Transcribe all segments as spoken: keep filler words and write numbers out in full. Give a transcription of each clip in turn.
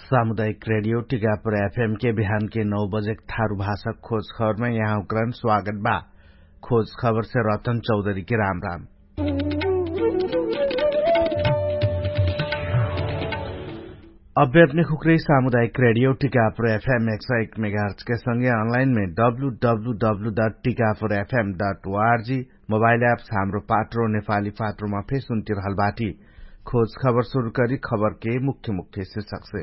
सामुदायिक रेडियो टिकापुर एफएम के बिहान के नौ बजेक थारु भाषा खोज खबरमे यहाँ उक्रान स्वागत बा। खोज खबरसे रतन चौधरी के राम राम। अभ्यापने खुक्रे सामुदायिक रेडियो टिकापुर एफएम एक सौ एक मेगाहर्च के संगे अनलाइनमे W W W dot Tikapur FM dot O R G mobile apps Hamro Patro नेपाली पात्रोमा फेर सुन्ति रहल बाटी। खोज खबर सुरु करी खबरके मुख्य मुख्य शिर्षकसे।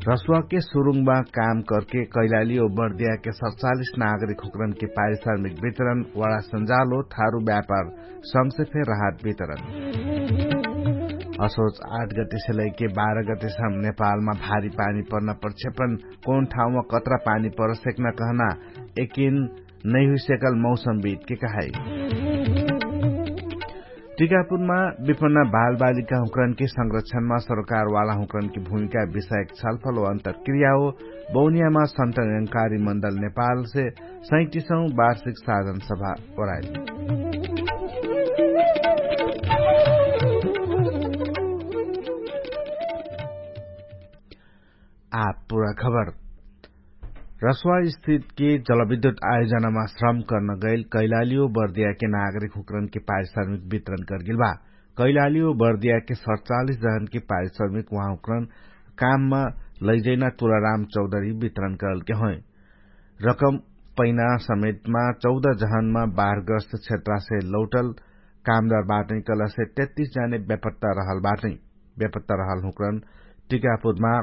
रसुवाके सुरुङमा काम करके कैलाली ओ बर्दियाके सतचालिस नागरिक हुक्रनके पारिश्रमिक वितरण वडा सन्जालो थारु व्यापार संगसे फेर राहत वितरण। असोच आठ गतिसे लैके बाह्र गतिसम नेपालमा भारी पानी पर्ना प्रक्षेपण कौन ठाउँमा कत्रा पानी परसेक्न कहना एकिन नैहुइसेकल मौसम बितके कहाई। टिकापुरमा विपन्न बालबालिका हुक्रनके संरक्षणमा सरकारवाला हुक्रनके भूमिका विषयक छलफल हो अन्तरक्रिया हो। बौनियामा सन्तनकारी मण्डल नेपालसे सैतिसौँ वार्षिक साधन सभा ओराइल। आ पुरा खबर। रसुवा स्थितके जलविद्युत आयोजनामा श्रम कर्न गैल कैलाली ओ बर्दियाके नागरिक हुक्रनके पारिश्रमिक वितरण करगेल बा। कैलाली ओ बर्दियाके सतचालिस जहनके पारिश्रमिक उहाँ हुक्रन काममा लैजैना तुलाराम चौधरी वितरण करलके होइ। रकम पैना समेतमा चौध जहनमा बाह्रग्रस्त क्षेत्रासे लौटल कामदार बाटै कलसे तेत्तिस जाने बेपत्ता रहल बाटै। बेपत्ता रहल हुक्रन टिकापुरमा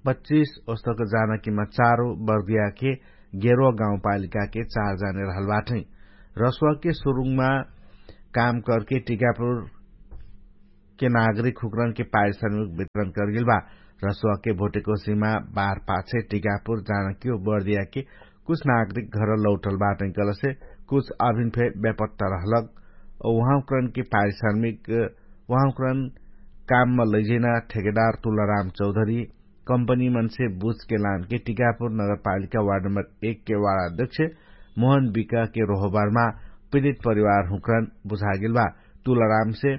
पच्चिस ओस्तक जानकीमा चारो बर्दियाके गेरुवा गाउँपालिकाके चार जाने रहल बाटै। रसुवाके सुरुङमा काम करके टिकापुरके नागरिक हुक्रनके पारिश्रमिक वितरण करगेल बा। रसुवाके भोटेकोसीमा बार पाछे टिकापुर जानकी ओ बर्दियाके कुछ नागरिक घर लौटल बाटै कलसे कुछ अभिन फे बेपत्ता रहलक। उहाँ हुक्रनके पारिश्रमिक उहाँ हुक्रन काममा लैजैना ठेकेदार तुलाराम चौधरी कम्पनी मन्से बुझके लानके टिकापुर नगरपालिका वार्ड नम्बर एक के वार्ड अध्यक्ष मोहन बिकाके रोहोबारमा पीडित परिवार हुक्रन बुझागेल बा। तुलारामसे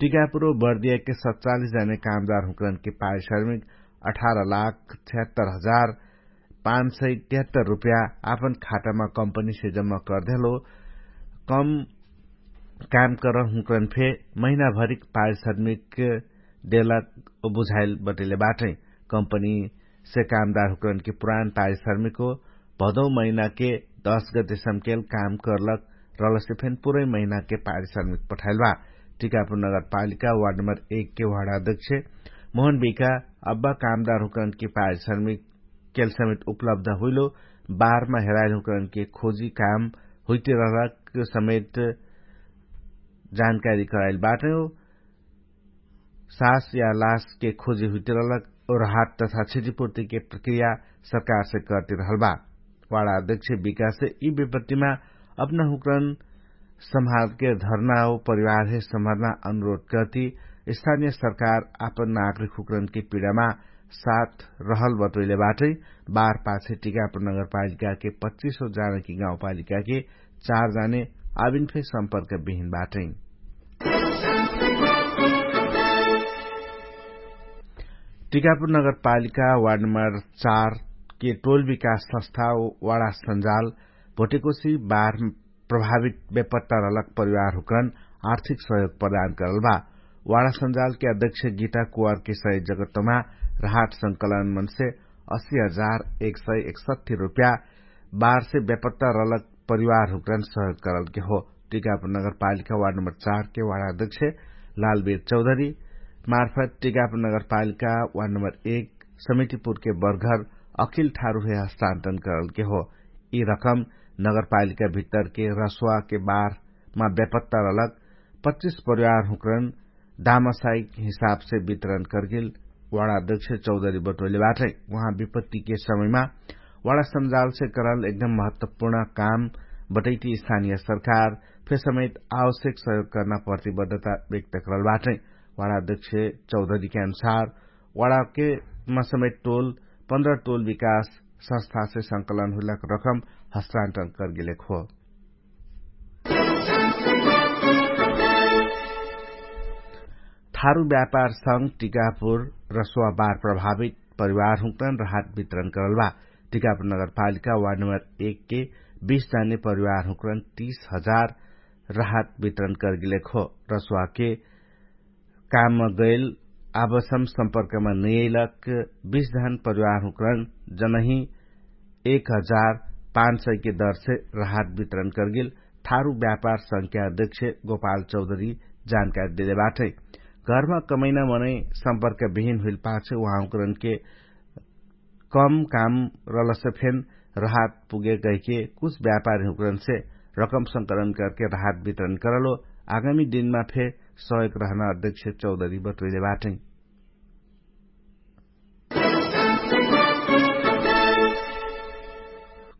टिकापुर ओ बर्दियाके सतचालिस जाने कामदार हुक्रनके पारिश्रमिक अठार लाख छ्यात्तर हजार पाँच सय तिहत्तर रुपया आपन खाटामा कम्पनीसे जम्मा करदेहलो। कम काम करहुँकरन फे महिनाभरिक पारिश्रमिक देलक बुझाइल बटैले बाटै। कम्पनीसे कामदारहुँकरनके पुरान पारिश्रमिक हो भदौ महिनाके दस गते सम्केल काम करलक रहलसे फेन पुरै महिनाके पारिश्रमिक पठाइल बा। टिकापुर नगरपालिका वार्ड नम्बर एक के वार्ड अध्यक्ष मोहन बिका अब्बा कामदारहुँकरनके पारिश्रमिक केल समेत उपलब्ध हुइलो बारमा हेराइल हुकरनके खोजी काम हुइते रहलक समेत जानकारी कराइल बाटै हो। सास या लासके खोजी हुइते रहलक और हात तथा क्षतिपूर्तिके प्रक्रिया सरकारसे करते रहल बा। वाडा अध्यक्ष विकाससे यि विपत्तिमा अपना हुकरन सम्हारके धर्ना हो परिवारहे सम्हारना अनुरोध करती स्थानिय सरकार आपन नागरिक हुकरनके पिडामा साथ रहल बटोइले बाटै। बार पाछे टिकापुर नगरपालिकाके पच्चिसो जानकी गाउँपालिकाके चार जाने आबिन फे सम्पर्क बिहिन बाटै। टिकापुर नगरपालिका वार्ड नम्बर चारके टोल विकास संस्था वाडा सन्जाल भोटेकोसी बार प्रभावित बेपत्ता रहलक परिवार हुकरन आर्थिक सहयोग प्रदान करल बा। वाडा सन्जालके अध्यक्ष गीता कुवारके सही जगतमा राहत संकलन मनसे अस्सी हजार एक सय एकसट्ठी रुपया बारसे बेपत्ता रहलक परिवार हुकरन सहयोग करलके हो। टिकापुर नगरपालिका वार्ड नम्बर चारके वाडा अध्यक्ष लालबीर चौधरी मार्फत टिकापुर नगरपालिका वार्ड नम्बर एक समितिपुरके बर्घर अखिल ठारुहे हस्तान्तरण करलके हो। यि रकम नगरपालिका भित्तरके रसुवाके बारमा बेपत्ता रहलक पच्चिस परिवार हुकरन दामासाइक हिसाबसे वितरण करगेल वाडा अध्यक्ष चौधरी बटोइले बाटै। उहाँ विपत्तिके समयमा वाडा सन्जालसे करल एकदम महत्वपूर्ण काम बटैती स्थानिय सरकार फे समेत आवश्यक सहयोग कर्ना प्रतिबद्धता व्यक्त करल बाटै। वाडा अध्यक्ष चौधरीके अनुसार वाडाकेमा समेत टोल पन्ध्र टोल विकास संस्थासे संकलन हुइलक रकम हस्तान्तरण करगेलेक हो। थारु व्यापार संग टिकापुर रसुवा बार प्रभावित परिवार हुँकरन राहत वितरण करल बा। टिकापुर नगरपालिका वार्ड नम्बर एक के बीस जाने परिवार हुँकरन तीस हजार राहत वितरण करगिलेक हो। रसुवा के काम गैल आबसम सम्पर्कमा नैलक बीस जहन परिवार हुँकरन जनही एक हजार पाँच सय के दरसे राहत वितरण करगेल थारु व्यापार संख्या अध्यक्ष गोपाल चौधरी जानकारी देले बाटै। घरमा कमैना मनै सम्पर्क विहिन हुइल पाछे उहाँ हुँकरन के कम काम रलसे फेन राहत पुगे गैके कुछ व्यापारी हुँकरन से रकम संकलन करके राहत वितरण करलो। आगामी दिनमा फे सहयोग रहना अध्यक्ष चौधरी बतुइले बाटै।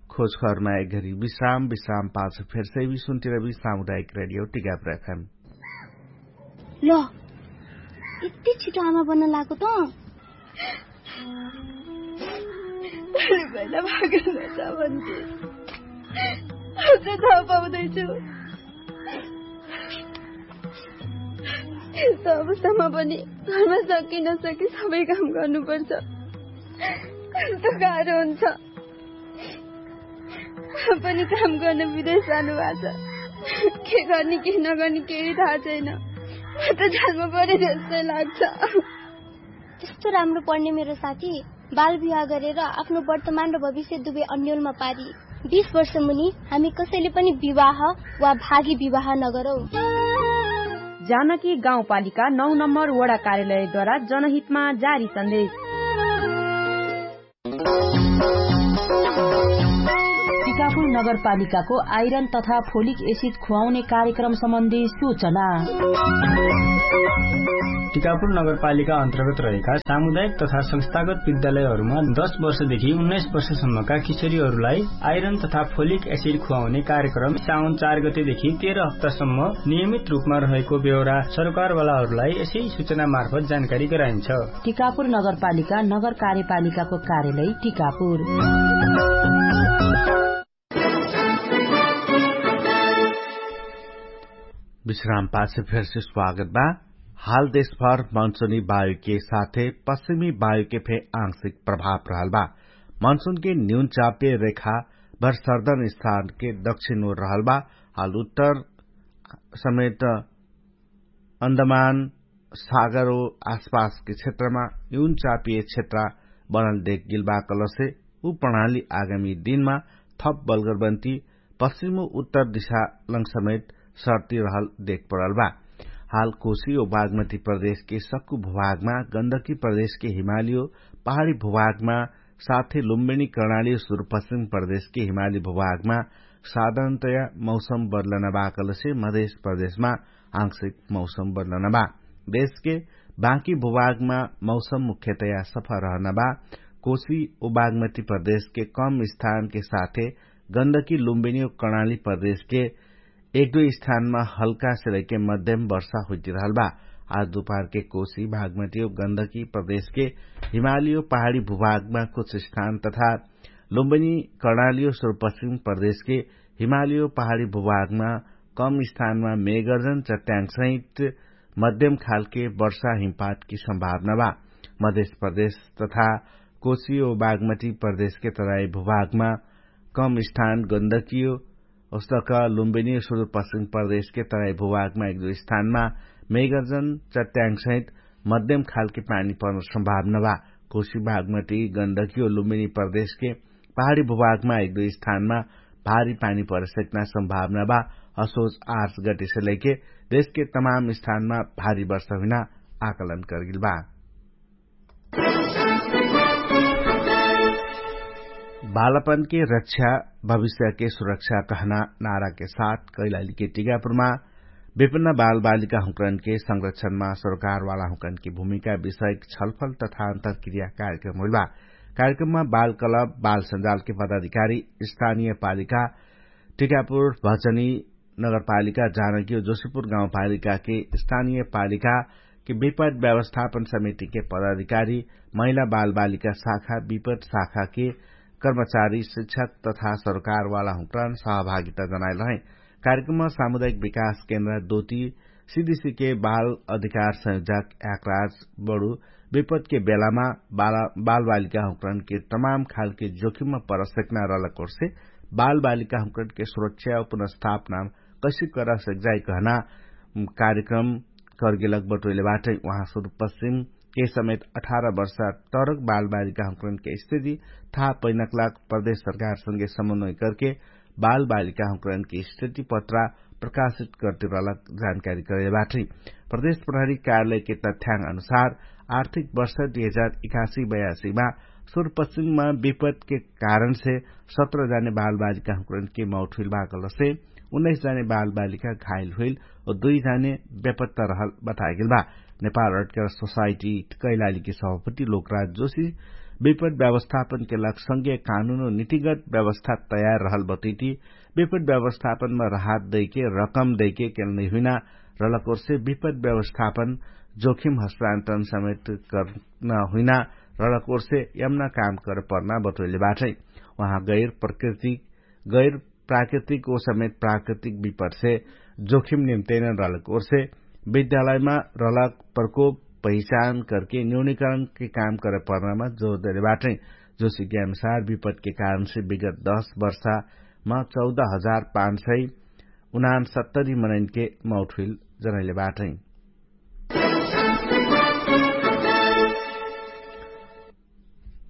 खोज खबरमा एक घरी विश्राम विश्राम पाछ फेरसे भी सुन्तिरबी सामुदायिक रेडियो टिकापुर एफएम। ल यति छिटो आमा बन्न लागो त। भैला भागेन छ भन्थे। अझ थाहा पाउँदैछु। यस्तो अवस्थामा पनि घरमा सकि नसकि सबै काम गर्नुपर्छ। कस्तो गाह्रो हुन्छ। पनि काम गर्न विदेश जानुभएको छ। के गर्ने के नगर्ने केही थाहा छैन। म त जालमा परे जस्तै लाग्छ। त्यस्तो राम्रो पढ्ने मेरो साथी बाल विवाह गरेर आफ्नो वर्तमान र भविष्य दुवै अन्यलमा पारी। बिस वर्ष मुनि हामी कसैले पनि विवाह वा भागी विवाह नगरौँ। जानकी गाउँपालिका नौ नम्बर वडा कार्यालयद्वारा जनहितमा जारी सन्देश। टिकापुर नगरपालिकाको आइरन तथा फोलिक एसिड खुवाउने कार्यक्रम सम्बन्धी सूचना। टिकापुर नगरपालिका अन्तर्गत रहेका सामुदायिक तथा संस्थागत विद्यालयहरूमा दस वर्षदेखि उन्नाइस वर्षसम्मका किशोरीहरूलाई आइरन तथा फोलिक एसिड खुवाउने कार्यक्रम साउन चार गतेदेखि तेह्र हप्तासम्म नियमित रूपमा रहेको बेहोरा सरकारवालाहरूलाई यसै सूचना मार्फत जानकारी गराइन्छ। टिकापुर नगरपालिका नगर कार्यपालिकाको कार्यालय टिकापुर। विश्राम पाछे फेरसे स्वागत बा। हाल देशभर मनसुनी वायुके साथे पश्चिमी वायुके फे आंशिक प्रभाव रहल बा। मनसुनके न्यून चापे रेखा भर सर्दन स्थानके दक्षिण ओर रहल बा। हाल उत्तर समेत अन्दमान सागरो आसपासके क्षेत्रमा न्यून चापिय क्षेत्र बनल देखगिलबा कलसे उ प्रणाली आगामी दिनमा थप बलगरबन्ती पश्चिमो उत्तर दिशालङ समेत सर्ती रहल देखपरल बा। हाल कोशी ओ बागमती प्रदेशके सक्कु भुभागमा गन्दकी प्रदेशके हिमालियो पहाडी भुभागमा साथै लुम्बिनी कर्णाली सुरुपश्चिम प्रदेशके हिमाली भुभागमा साधारणतया मौसम बदलनबा कलसे मधेश प्रदेशमा आंशिक मौसम बदलनबा। देशके बाँकी भुभागमा मौसम मुख्यतया सफा रहनबा। कोशी ओ बागमती प्रदेशके कम स्थानके साथे गन्दकी लुम्बिनी ओ कर्णाली प्रदेशके एक दुई स्थानमा हल्का से लैके मध्यम वर्षा हुइतिरहल बा। आज दुपहरके कोशी बागमती ओ गन्दकी प्रदेशके हिमालियो पहाडी भुभागमा कुछ स्थान तथा लुम्बिनी कर्णालियो सुरुपश्चिम प्रदेशके हिमालियो पहाडी भुभागमा कम स्थानमा मेगर्जन चट्याङसहित मध्यम खालके वर्षा हिमपातकी सम्भावना बा। मधेश प्रदेश तथा कोशी ओ बागमती प्रदेशके तराई भुभागमा कम स्थान गन्दकियो ओस्तक लुम्बिनी सुरुपश्चिम प्रदेशके तराई भुभागमा एक दुई स्थानमा मेगर्जन चट्याङसहित मध्यम खालके पानी पर्न सम्भावना बा। कोशी बागमती गन्दकियो लुम्बिनी प्रदेशके पहाडी भुभागमा एक दुई स्थानमा भारी पानी परेसक्ना सम्भावना बा। असोज आर्स गटिसे लैके देशके तमाम स्थानमा भारी वर्ष हुइना आकलन करगिल बा। बालपनके रक्षा भविष्यके सुरक्षा कहना नाराके साथ कैलालीके टिकापुरमा विभिन्न बालबालिका हुँकरनके संरक्षणमा सरकारवाला हुँकरनके भूमिका विषयक छलफल तथा अन्तरक्रिया कार्यक्रम होइलबा। कार्यक्रममा बालकलब बालसंजालके पदाधिकारी स्थानीय पालिका टिकापुर भजनी नगरपालिका जानकी ओ जोशीपुर गाउँपालिकाके स्थानीय पालिकाके विपद व्यवस्थापन समितिके पदाधिकारी महिला बालबालिका शाखा विपद शाखाके कर्मचारी शिक्षक तथा सरकारवाला हुँकरन सहभागिता जनाइल रहै। कार्यक्रममा सामुदायिक विकास केन्द्र दोती सिदिसिके बाल अधिकार संयोजक याकराज बडु विपदके बेलामा बालबालिका हुँकरनके तमाम खालके जोखिममा परसकना रहलक ओर्से बालबालिका हुँकरनके सुरक्षा पुनर्स्थापना कैसिक करसक जाइ कहना कार्यक्रम करगेलक बटोइले बाटै। उहाँ सुरुपश्चिम के समेत अठार वर्ष तरक बालबालिका हुँकरनके स्थिति थाहा पैनकलाक प्रदेश सरकारसँगे समन्वय करके बालबालिका हुँकरनके स्थिति पत्रा प्रकाशित करते रहलक जानकारी करैले बाटै। प्रदेश प्रहरी कार्यालयके तथ्याङ अनुसार आर्थिक वर्ष दुई हजार इकासी बयासीमा सुरुपश्चिममा विपदके कारणसे सत्र जाने बालबालिका हुँकरनके मौठुइल भागलसे उन्नैस जाने बालबालिका घाइल हुइल और दुई जाने बेपत्ता रहल बतागेल बा। नेपाल अटकर सोसाइटी कैलालीके सभापति लोकराज जोशी विपद व्यवस्थापनके लक्ष्य संगे कानुन और नितिगत व्यवस्था तयार रहल बतैती विपद व्यवस्थापनमा राहत दैके रकम दैके केल नैहुइना रहलक ओर्से विपद व्यवस्थापन जोखिम हस्तान्तरण समेत कर्न हुइना रहलक ओर्से यमना काम करे पर्ना बटोइले बाटै। उहाँ गैर प्रकृतिक गैर प्राकृतिक ओ समेत प्राकृतिक विपदसे जोखिम निम्तैनन रहलक ओर्से विद्यालयमा रहलक प्रकोप पहिचान करके न्यूनिकरणके काम करे पर्नामा जोर देले बाटै। जोसिके अनुसार विपदके कारणसे विगत दस वर्षामा चौध हजार पाँच सय उनान सत्तरी मनैनके मौठुइल जनैले बाटै।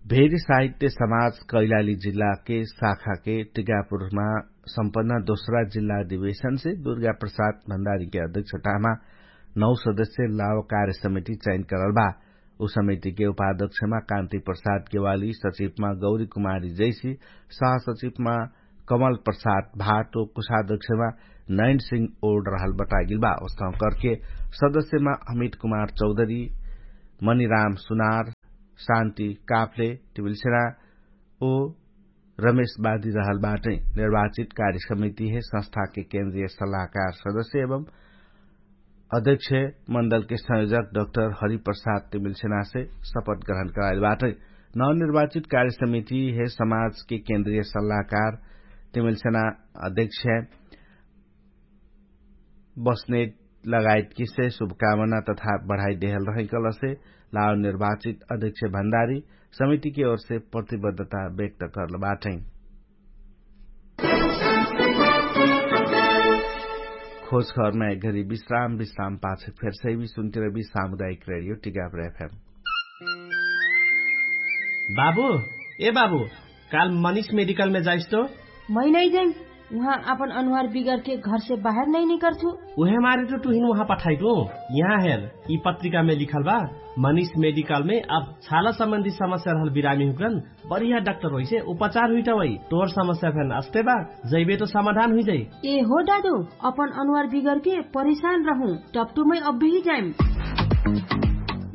भेरी साहित्य समाज कैलाली जिल्लाके शाखाके टिकापुरमा सम्पन्न दोस्रा जिल्ला अधिवेशनसे दुर्गा प्रसाद भण्डारीके अध्यक्षतामा नौ सदस्य लाव कार्य समिति चयन करल बा। उ समितिके उपाध्यक्षमा कान्ति प्रसाद गेवाली सचिवमा गौरी कुमारी जैसी सहसचिवमा कमल प्रसाद भाटो कुशाध्यक्षमा नैन सिंह ओड रहल बतागिल बा। उस्तौँ करके सदस्यमा अमित कुमार चौधरी, मनिराम सुनार, शान्ति काफले, टिबिल्सेना ओ रमेशवादी रहल बाटै। निर्वाचित कार्य समिति हे संस्थाके केन्द्रीय सल्लाहकार सदस्य एवं अध्यक्ष मण्डलके संयोजक डक्टर हरिप्रसाद तिमिल्सेनासे सपट ग्रहण कराइल बाटै। नवनिर्वाचित कार्य समिति हे समाजके केन्द्रीय सल्लाहकार तिमिल्सेना अध्यक्ष बस्ने लगायतकिसे शुभकामना तथा बढाइ देहल रहै कलसे लाव निर्वाचित अध्यक्ष भण्डारी समितिके ओरसे प्रतिबद्धता व्यक्त कर्ल बाटै। खोज खबरमा एक घरी विश्राम विश्राम पाछ फेर सैवी सुन्तिरबी सामुदायिक रेडियो टिकापुर एफएम। बाबु, ए बाबु, काल मनिष मेडिकलमे जाइस्तो? मै नै जाइम। उहाँ आपन अनुहार बिगरके घरसे बाहेर नै निकर्छु। उहे मारे त तुहिन उहाँ पठाइटु। यहाँ हेर, यि पत्रिकामे लिखल बा, मनिष मेडिकलमे अब छाला सम्बन्धी समस्या रहल बिरामी हुकरन बढिया डाक्टर होइसे उपचार हुइटवै। तोर समस्या फेन अस्ते बा, जैबे त समाधान हुइजै। ए हो दादु, अपन अनुहार बिगरके परिशान रहु, टप्टुमै अब्बेही जाइम।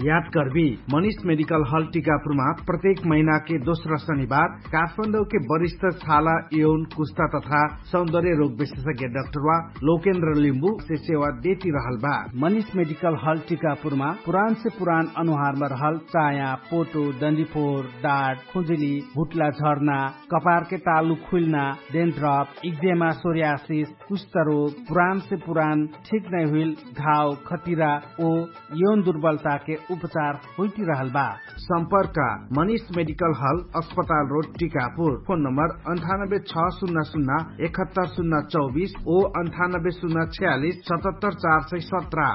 याद कर्बी, मनिष मेडिकल हल टिकापुरमा प्रत्येक महिनाके दोस्रा शनिबार काठमाडौके वरिष्ठ छाला यौन कुस्ता तथा सौन्दर्य रोग विशेषज्ञ डाक्टरवा लोकेन्द्र लिम्बु से सेवा देती रहल बा। मनिष मेडिकल हल टिकापुरमा पुरान से पुरान अनुहारमा रहल चाया, पोटो, डन्डीफोर, डाट, खुजुली, भुटला झर्ना, कपारके तालु खुइल्ना, डेन्ड्रप, इक्जेमा, सोर्यासिस, कुष्ठरोग, पुरान से पुरान ठिक नै हुइल घाव, खतिरा ओ यौन दुर्बलताके उपचार हुइटिरहल बा। सम्पर्क, मनिष मेडिकल हल, अस्पताल रोड, टिकापुर। फोन नम्बर अन्ठानब्बे छ सुन्ना सुन्ना एकहत्तर सुन्ना चौबिस ओ अन्ठानब्बे सुन्ना छयालिस सतहत्तर चार सय सत्र।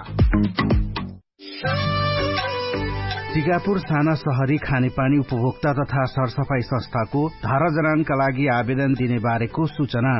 टिकापुर साना सहरी खानेपानी उपभोक्ता तथा सरसफाई संस्थाको धारा जनानका लागि आवेदन दिने बारेको सूचना।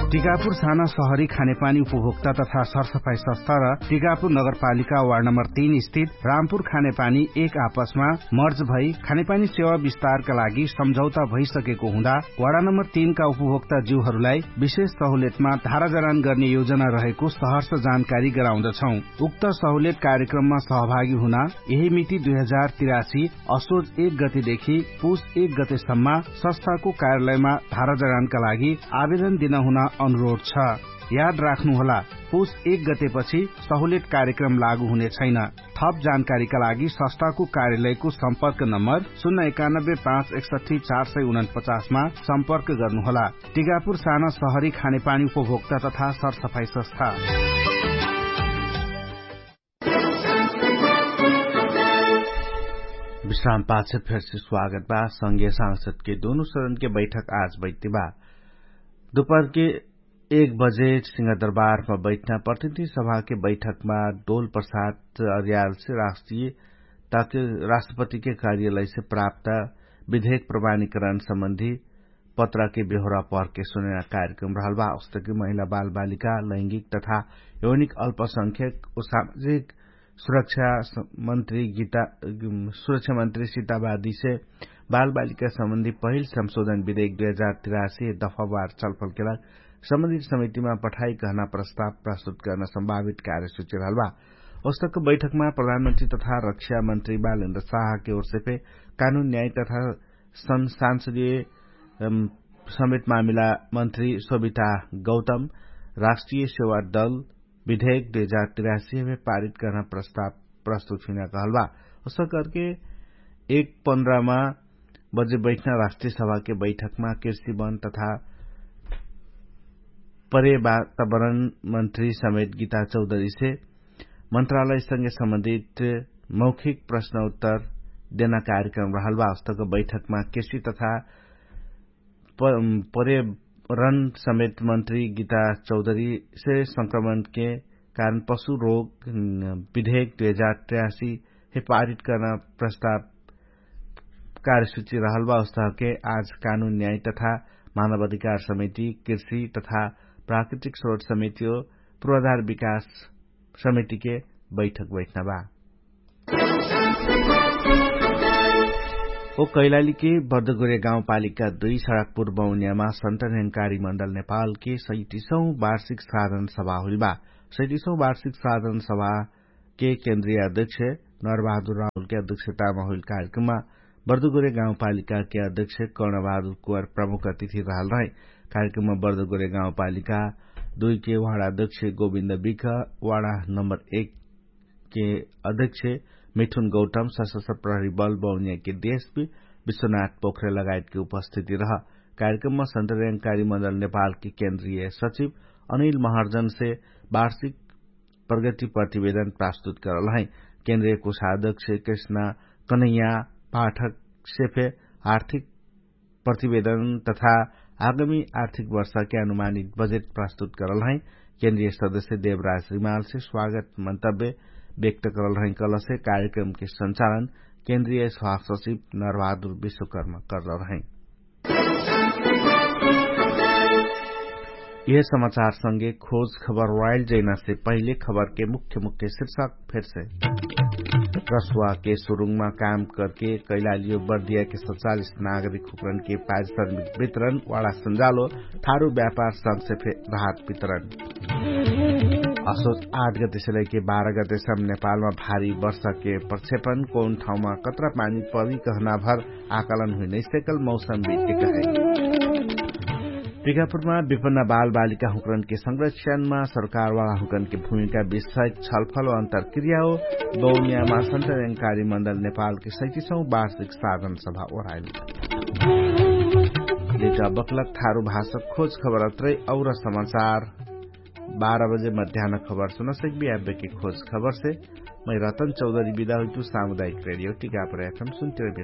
टिकापुर साना सहरी खानेपानी उपभोक्ता तथा सरसफाई संस्था र टिकापुर नगरपालिका वार्ड नम्बर तीन स्थित रामपुर खानेपानी एक आपसमा मर्ज भई खानेपानी सेवा विस्तारका लागि सम्झौता भइसकेको हुँदा वार्ड नम्बर तीनका उपभोक्ता जिउहरूलाई विशेष सहुलियतमा धारा जनान गर्ने योजना रहेको सहर्ष जानकारी गराउँदछौँ। उक्त सहुलियत कार्यक्रममा सहभागी हुन यही मिति दुई हजार तिरासी असोज एक गतेदेखि पुस एक गतेसम्म संस्थाको कार्यालयमा धारा जनानका लागि आवेदन दिन हुन अनुरोध छ। याद राख्नु होला, पुस एक गतेपछि सहुलियत कार्यक्रम लागु हुने छैन। थप जानकारीका लागि सस्ताको कार्यालयको सम्पर्क नम्बर सुन्ना एकानब्बे पाँच एकसठी चार सय उनपचासमा सम्पर्क गर्नु होला। टिकापुर साना सहरी खानेपानी उपभोक्ता तथा सरसफाई सस्था। विश्राम पाछ फेरसे स्वागत बा। संगे सांसदके दुनु सदनके बैठक आज बैठ्ति बा। दुपहरके एक बजे सिंहदरबारमा बैठ्ना प्रतिनिधि सभाके बैठकमा डोल प्रसाद अर्यालसे राष्ट्रिय ताके राष्ट्रपतिके कार्यालयसे प्राप्त विधेयक प्रमाणीकरण सम्बन्धी पत्राके बेहोरा पर्के सुनेना कार्यक्रम रहल बा। उस्तकी महिला बालबालिका लैंगिक तथा यौनिक अल्पसंख्यक उ सामाजिक सुरक्षा मन्त्री गीता सुरक्षा मन्त्री सीतावादीसे बालबालिका सम्बन्धी पहिल संशोधन विधेयक दुई हजार तिरासी दफावार छलफलके लाग सम्बन्धित समितिमा पठाई कहना प्रस्ताव प्रस्तुत गर्न सम्भावित कार्यसूची रहल बा। उस्तक बैठकमा प्रधानमन्त्री तथा रक्षा मन्त्री बालेन्द्र साहके ओरसे फे कानुन न्याय तथा संसदीय समेत मामिला मन्त्री सोभिता गौतम राष्ट्रिय सेवा दल विधेयक दुई हजार तिरासी मे पारित गर्न प्रस्ताव प्रस्तुत हुइना कहल बा। उसक करके एक पन्द्रमा बजे बैठ्ना राष्ट्रिय सभाके बैठकमा कृषि वन तथा पर्यावरण मन्त्री समेत गीता चौधरीसे मन्त्रालयसँगे सम्बन्धित मौखिक प्रश्न उत्तर देना कार्यक्रम रहल बा। उस्तक बैठकमा कृषि तथा पर्यावरण समेत मन्त्री गीता चौधरीसे संक्रमणके कारण पशु रोग विधेयक दुई हजार तिरासी हे पारित कर्ना प्रस्ताव कार्यसूची रहल बा। उस्तहके आज कानुन न्याय तथा मानव अधिकार समिति कृषि तथा प्राकृतिक स्रोत समिति हो पूर्वाधार विकास समितिके बैठक बैठ्ना बा। ओ कैलालीके बर्दगोरे गाउँपालिका दुई सडकपुर बौनियामा सन्त न्याङ्कारी मण्डल नेपालके सैतिसौँ वार्षिक साधन सभा हुइल बा। सैतिसौँ वार्षिक साधन सभाके केन्द्रीय अध्यक्ष नरबहादुर राहुलके अध्यक्षतामा हुइल कार्यक्रममा बर्दगोरे गाउँपालिकाके अध्यक्ष कर्णबहादुर कुवार प्रमुख अतिथि रहल रहै। कार्यक्रममा बर्दगोरे गाउँपालिका दुईके वाडा अध्यक्ष गोविन्द बिख, वाडा नम्बर एक के अध्यक्ष मिठुन गौतम सशस्त्र प्रहरी बल बौनियाके देशपी विश्वनाथ पोखरे लगायतके उपस्थिति रह। कार्यक्रममा सन्त न्याङ्कारी मण्डल नेपालके केन्द्रीय सचिव अनिल महर्जनसे वार्षिक प्रगति प्रतिवेदन प्रस्तुत करल है। केन्द्रीय कोषाध्यक्ष कृष्ण कन्हैया पाठकसे फे आर्थिक प्रतिवेदन तथा आगामी आर्थिक वर्षके अनुमानित बजेट प्रस्तुत करल है। केन्द्रीय सदस्य देवराज रिमालसे स्वागत मन्तव्य व्यक्त करल है। कलसे कार्यक्रमके संचालन केन्द्रीय स्वास्थ्य सचिव नरबहादुर विश्वकर्म करल है। यह समाचार संगे खोज खबर वाइल जैनासे पहिले खबरके मुख्य मुख्य शीर्षक फेरसे रसुवाके सुरुङमा काम करके कैलालियो बर्दियाके सचालिस नागरिक हुक्रनके पारिश्रमिक वितरण वाडा सन्जालो थारु व्यापार संघसे फे राहत वितरण। असोच आठ गतेसे लैके बाह्र गतेसम नेपालमा भारी वर्षाके प्रक्षेपण कौन ठाउँमा कत्रा पानी परी कहनाभर आकलन हुइनै सेकल मौसम बितेक है। टिकापुरमा विपन्न बालबालिका हुँकरनके संरक्षणमा सरकारवाला हुँकरनके भूमिका विषयक छलफल अन्तरक्रिया हो। बौनियामा सन्त न्याङ्कारी मण्डल नेपालके सैतिसौँ वार्षिक साधन सभा ओराइल। लेटा बक्लक थारु भाषक खोज खबर अत्रै और समाचार बाह्र बजे मध्यान खबर सुनसक बियाबेके खोज खबरसे मै रतन चौधरी बिदा हुइतु। सामुदायिक रेडियो टिकापुर एफएम सुन्तिरबे।